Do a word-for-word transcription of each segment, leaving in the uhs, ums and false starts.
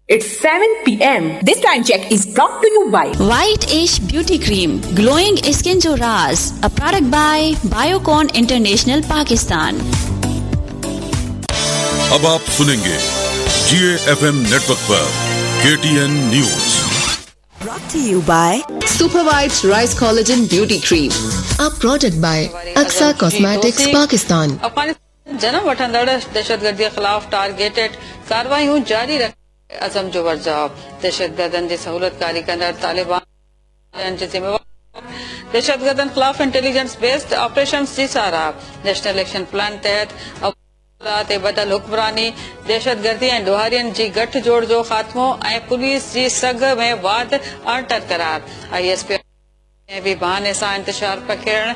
It's seven P M. This time check is brought to you by White Ash Beauty Cream, glowing skin जो राज, a product by Biocon International Pakistan. अब आप सुनेंगे जी F M network पर K T N news. Brought to you by Super White Rice Collagen Beauty Cream, a product by Aksa Cosmetics Pakistan. जनम वठंदड़ दहशतगर्दी ख़िलाफ़ targeted कार्रवाइयूं जारी रख अज़म जो वरजाव। दहशतगर्दनि जी सहूलतकारी कंदड़ तालिबान जी ज़िम्मेवार। दहशतगर्दनि ख़िलाफ़ इंटेलिजेंस बेस्ड ऑपरेशंस जी साराह। नेशनल एक्शन प्लान तहत ते बदल हुक्मरानी, दहशतगर्दी ऐं ॾोहारियुनि जी गठ जोड़ जो ख़ात्मो ऐं पुलिस जी सघ में वाध अणटर करार। I S P बि बहाने सां इंतशार पखेड़ण,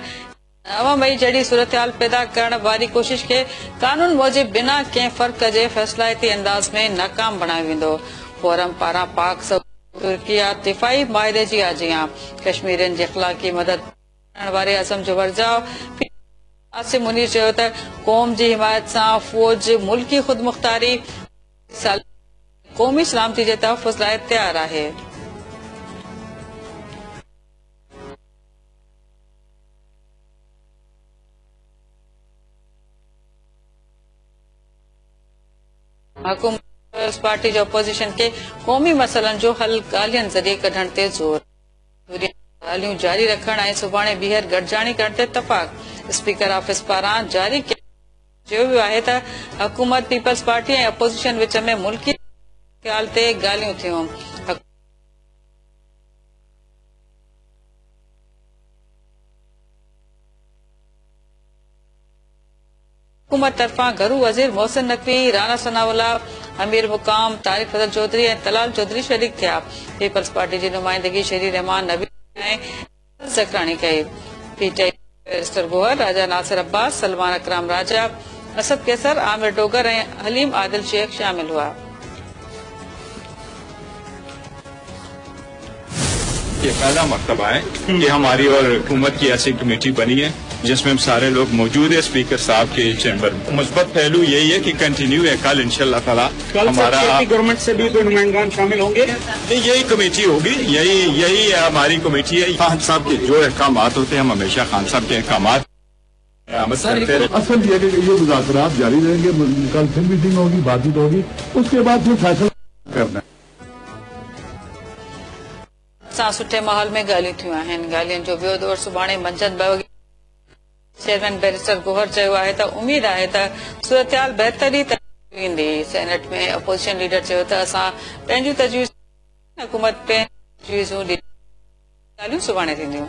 नव मई जहिड़ी सूरत हाल पैदा करण वारी कोशिश खे कानून मूजिबि बिना कंहिं फ़र्क़ जे फ़ैसिलाइती अंदाज़ में नाकाम बणायो वेंदो। फोरम पारां पाक तुर्किया दिफ़ाई माहिदे जी आजियां। कश्मीरियुनि जी अख़लाक़ी मदद करण वारे अज़म जो वरजाव। आसिम मुनीर चयो त क़ौम जी हिमायत सां फ़ौज मुल्की ख़ुदमुख़्तारी, क़ौमी सलामती जे तहफ़ुज़ लाइ तयारु आहे। हुकूमत पार्टी जो अपोजिशन के क़ौमी मसइलनि जो हल ॻाल्हियुनि ज़रिए कढण ते ज़ोर। ॻाल्हियूं जारी रखण ऐं सुभाणे ॿीहर गॾिजाणी करण ते इतफ़ाक़। स्पीकर ऑफिस पारां जारी चयो वियो आहे त हुकूमत, पीपल्स पार्टी ऐं अपोजिशन विच में मुल्की ख़्याल ते ॻाल्हियूं थियूं। हुकूमत तरफ़ां घरू वज़ीर मोहसिन नकवी, राणा सनाउल्ला, अमीर मुकाम, तारिक फजल चौधरी ऐं तलाल चौधरी शरीक थिया। पीपल्स पार्टी जी नुमाइंदगी शेरी रहमान नबी ऐं ज़करानी कई। पीटीआई बैरिस्टर गोहर, राजा नासिर अब्बास, सलमान अकराम राजा, असद कैसर, आमिर डोगर ऐं हलीम आदिल शेख शामिल हुआ। ये पहला मरतबा है कि हमारी और हुकूमत की ऐसी कमेटी बनी है जिसमें हम सारे लोग मौजूद है स्पीकर साहब के चैम्बर में। मुस्बत पहलू यही है कि कंटिन्यू है। कल इंशाअल्लाह ताला हमारा गवर्नमेंट से भी तो नुमाइंदान शामिल होंगे। यही कमेटी होगी, यही यही हमारी कमेटी है। खान साहब के जो अहकाम होते हैं हम हमेशा खान साहब के अहकाम असल ये ये मुज़ाकरात जारी रहेंगे। कल फिर मीटिंग होगी, बातचीत होगी, उसके बाद फिर फैसला करना। सां सुठे माहौल में ॻाल्हियूं थियूं आहिनि। ॻाल्हियुनि जो ॿियो दौर सुभाणे मंझंदि ॿ वॻे। चेयरमैन बैरिस्टर गोहर चयो आहे त उमेद आहे त सूरत हाल बहितरी ईंदी। सेनेट में अपोजिशन लीडर चयो त असां पंहिंजूं तजवीज़ हुकूमत पंहिंजी तजवीज़ूं ॾिनी। ॻाल्हियूं सुभाणे थींदियूं।